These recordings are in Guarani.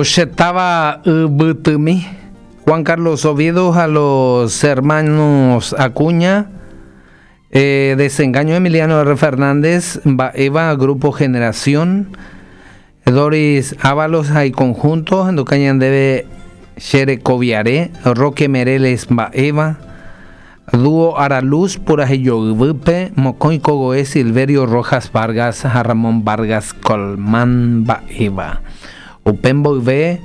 Che táva yvytymi, Juan Carlos Oviedo ha los hermanos Acuña, Desengaño Emiliano R. Fernández, mba'éva Grupo Generación, Doris Ávalos ha iconjunto, ohenduka ñandéve Che rekoviare, Roque Mereles mba'éva, Dúo Araluz purahejoyvýpe, mokõi kogoe Silverio Rojas Vargas ha Ramón Vargas Colmán mba'éva. Upe mboyve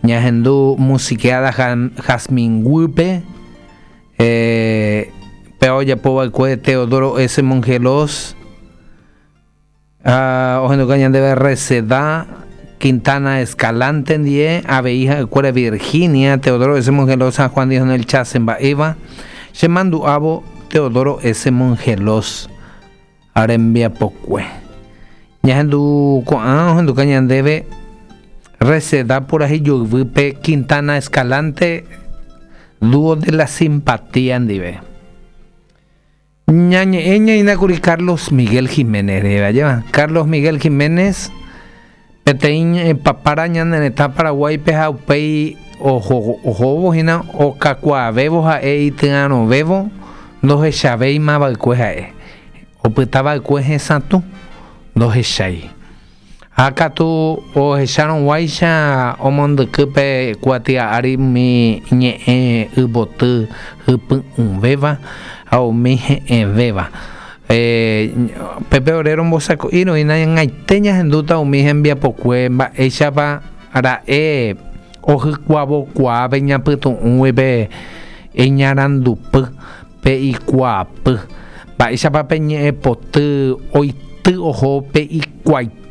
ñahendu musiqueada Jazmín guýpe, péva ojapova'ekue Teodoro S. Mongelós, Ha ohenduka ñandéve Reseda, Quintana Escalante ndie, avei ha'ekuéra Virginia, Teodoro S. Mongelós ha Juan Dionel Chase mba'éva, che mandu'ávo Teodoro S. Mongelós rembiapokue. Ñahendu ko'ã ohenduka ñandéve Reseda purahéi joyvýpe Quintana Escalante Dúo de la Simpatía ndive. Ñañe'ẽ ñaína kuri Carlos Miguel Giménez rehe, ajéva? Carlos Miguel Giménez peteĩ ñe'ẽpapára ñane retã Paraguáipe ha upéi oho ohóvo hína okakuaavévo ha'e ityarõvévo ndohechavéima va'ekue ha'e, opyta va'ekue hesatũ ndohechái. Ha katu ohecharõguáicha omondyky pe kuatia ári umi ñe'ẽ yvoty hypy'ũvéva ha umi he'ẽvéva. Pépe ore rombosako'i roĩna ñag̃aite ñahendúta umi hembiapokue mba'éichapa ra'e ohykuavokuaa pe ñapytu'ũgui pe iñarandupy, pe ikuaapy. Mba'éichapa pe ñe'ẽpoty oity oho pe ikuaite.